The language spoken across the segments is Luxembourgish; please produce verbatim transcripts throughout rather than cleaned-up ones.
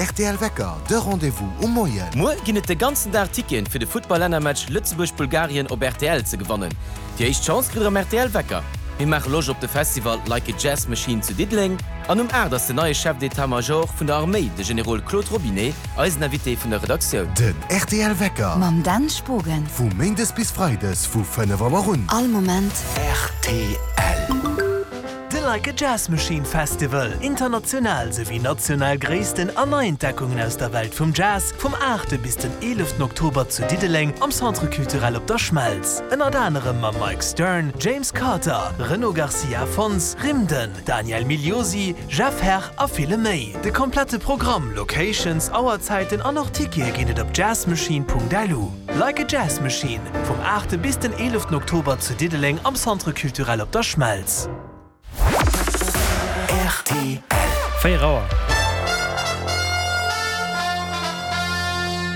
rtl Wecker, de Rendez-vous um Moien. Muer ginn et de ganzen Dag Ticketen fir de Futtball-Lännermatch Lëtzebuerg-Bulgarien op rtl ze gewannen. Déi éischt Chance kritt der am rtl Wecker. Mir maache Loscht op de Festival Like a Jazz Machine zu Diddeleng an um aacht ass den neie Chef d'état-major vun der Arméi, de Generol Claude Robinet, eisen Invité vun der Redaktioun. Den rtl Wecker. Mam Dan Spogen. Vu méindes bis freides vu fënnef Auer un. All Moment. Rtl. De Like a Jazz Machine Festival, international souwéi national Gréissten an Neientdeckungen aus der Welt vum Jazz, vum aachte bis den eeleften Oktober zu Diddeleng am Centre Culturel op der Schmelz. Ënnert anerem mam Mike Stern, James Carter, Renaud Garcia Fons, Rimden, Daniel Migliosi, Jeff Herr a ville méi. De komplette Programm, Locations, Auerzäiten an och Tickete ginn et op jazzmachine.lu. Like a Jazz Machine, vum aachte bis den eeleften Oktober zu Diddeleng am Centre Culturel op der Schmelz. Rtl. Véier Auer.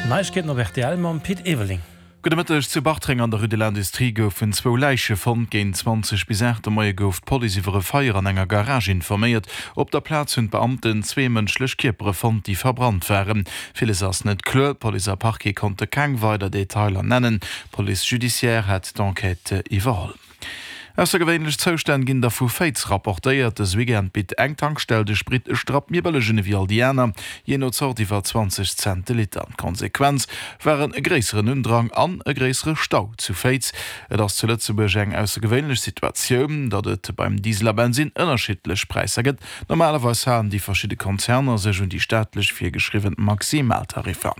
Neiegkeeten op rtl mam Pit Everling. Gudde Mëtteg, Zu Bartreng an der Rue de l'Industrie goufen zwou Läiche fonnt. Géint zwanzeg bis aacht de Moie gouf d'Police iwwer e Feier an enger Garage informéiert. Op der Plaz hunn d'Beamten zwee mënschlech Kierpere fonnt, déi verbrannt waren. Villes ass net kloer, Police a Parquet konnte keng weider Detailer nennen. D'Police judiciaire hätt d'Enquête iwwerholl. Aussergewéinlech Zoustänn ginn der vu Féiz rapportéiert. Dës Weekend bitt eng Tankstell de Sprit e Strapp méi bëlleg un ewéi all déi aner, jee no Zort iwwer zwanzeg Cent de Liter. D'Konsequenz waren e gréisseren Undrang an e gréissere Stau zu Féiz. Et ass zu Lëtzebuerg eng aussergewéinlech Situatioun, datt et beim Diesel a Bensinn ënnerschiddlech Präisser gëtt. Normalerweis halen déi verschidde Konzerner sech un déi staatlech virgeschriwwen Maximaltariffer.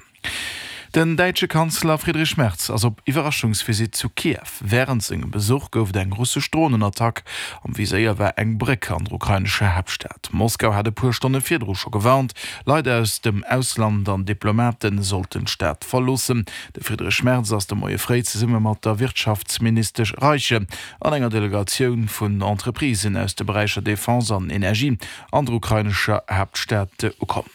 Den däitsche Kanzler Friedrich Merz ass op Iwwerraschungsvisitt zu Kiew. Wärend sengem Besuch gouf et eng russesch Dronenattack. Am Viséier war eng Bréck an der ukrainescher Haaptstad. Moskau hat e puer Stonne virdru scho gewarnt, Leit aus dem Ausland an Diplomate sollten d'Stad verloossen. De Friedrich Merz ass de Moie fréi zesumme mat der Wirtschaftsministesch Reiche an enger Delegatioun vun Entreprisen aus de Beräicher Defense an Energie an der ukrainescher Haaptstad ukomm.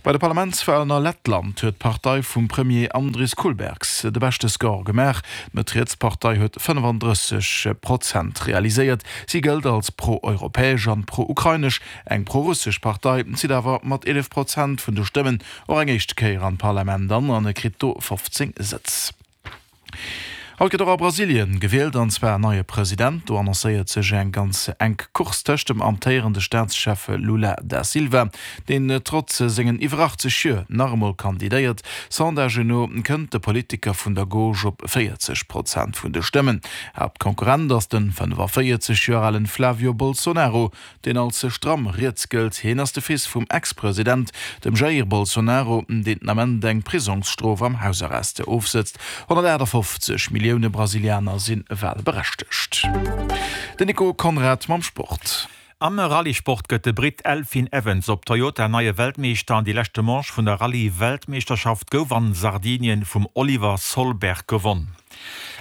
Bei de Parlamentswalen a Lettland huet d'Partei vum Premier Andris Kulbergs de beschte Score gemaach. D'Mëtt-Riets-Partei huet fënnefandrësseg Prozent realiséiert. Si gëllt als pro-europäesch an pro-ukrainesch. Eng pro-russesch Partei zitt awer mat eelef Prozent vun de Stëmmen och eng éischte Kéier an d'Parlament an an kritt do fofzéng Sëtz. Haut gëtt och a Brasilien gewielt, an zwar en neie President. Do annoncéiert sech eng ganz enk Course tëscht dem amtéierende Staatschef Lula da Silva, deen trotz sengen iwwer achtzeg Joer nach emol kandidéiert. Sondagen no kënnt de Politiker vun der Gauche op véierzeg Prozent vun de Stëmmen. Haaptkonkurrent ass de fënnefaféierzeg Joer alen Flavio Bolsonaro, deen als stramm riets gëllt. Hien ass de Fils vum Ex-President, dem Jair Bolsonaro, deen den Ament eng Prisongsstrof am Hausarrest ofsëtzt. honnertaachtafoffzeg Millioune Brasilianer si walberechtegt. Den Nico Conrad mam Sport. Am Rallye-Sport gëtt de Britt Elfyn Evans op Toyota neie Weltmeeschter an déi leschte Manche vun der Rallye-Weltmeeschterschaft gouf an Sardinien vum Oliver Solberg gewonn.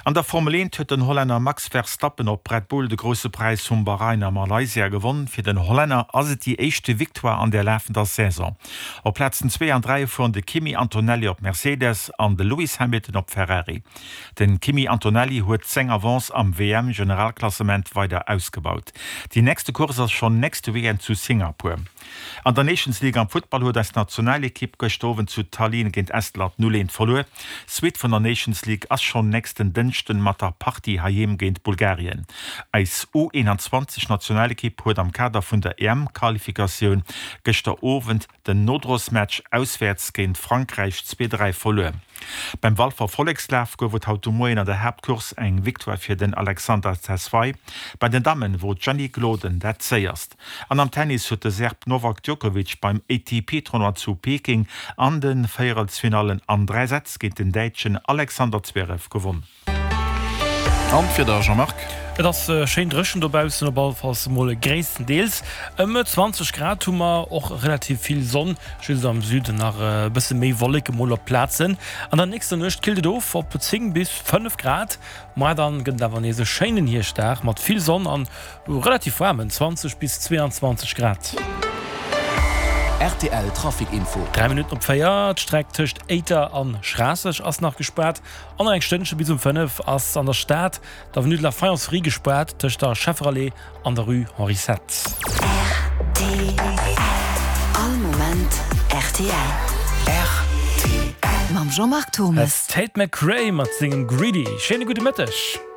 An der Formel eent huet den Hollänner Max Verstappen op Red Bull de Grousse Präis vum Bahrain a Malaysia gewonn. Fir den Hollänner ass et déi éischte Victoire an der lafender Saison. Op Plazen zwee an dräi fueren de Kimi Antonelli op Mercedes an de Lewis Hamilton op Ferrari. Den Kimi Antonelli huet seng Avance am W M-Generalklassement weider ausgebaut. Déi nächste Course ass schonn nächste Weekend zu Singapur. An der Nations League am Futtball huet eis Nationalekipp gëschter Owend zu Tallinn géint Estland null eent verluer. D'Suite vun der Nations League ass schonn nächsten Dënschden mat der Partie heiheem géint Bulgarien. Eis U einundzwanzeg Nationalekipp huet am Kader vun der E M-Qualifikatioun gëschter Owend den Nodrosmatch auswäerts géint Frankräich zwee dräi verluer. Beim Walfer Vollekslaf gouf et haut de Moien an der Haaptcourse eng Victoire fir den Alexander Tesfaye. Bei den Dammen wor d'Jenny Gloden dat Séierst. An am Tennis huet de Serb Novak Djokovic beim A T P-Tournoi zu Peking an de Véierelsfinallen an dräi Sätz géint den Däitschen Alexander Zverev gewonn. An d'Wieder, Jean-Marc? Et ass schéin dréchen dobaussen, op allefalls emol gréisstendeels. Ëm zwanzeg Grad hu mer, och relativ vill Sonn, just am Süden nach e bësse méi Wolleke mol op Plazen. An der nächster Nuecht killt et of op zéng bis fënnef Grad. Moar dann gëtt et awer nees e schéinen Hierschtdag mat vill Sonn an relativ waarmen zwanzeg bis zweeanzwanzeg Grad. R T L Trafic Info. Dräi Minutten op véier, D'Streck tëscht Éiter an Schraasseg ass nach gespaart. An nach eng Stënnche bis um fënnef ass an der Stad d'Avenue de la Faïencerie gespaart tëscht der Schefferallée an der Rue Henri Sept. R T L All Moment R T L. Rtl. Rtl. Mam Jean-Marc Thomas. Tate McRae mat sengem Greedy. Schéine gudde Mëtteg.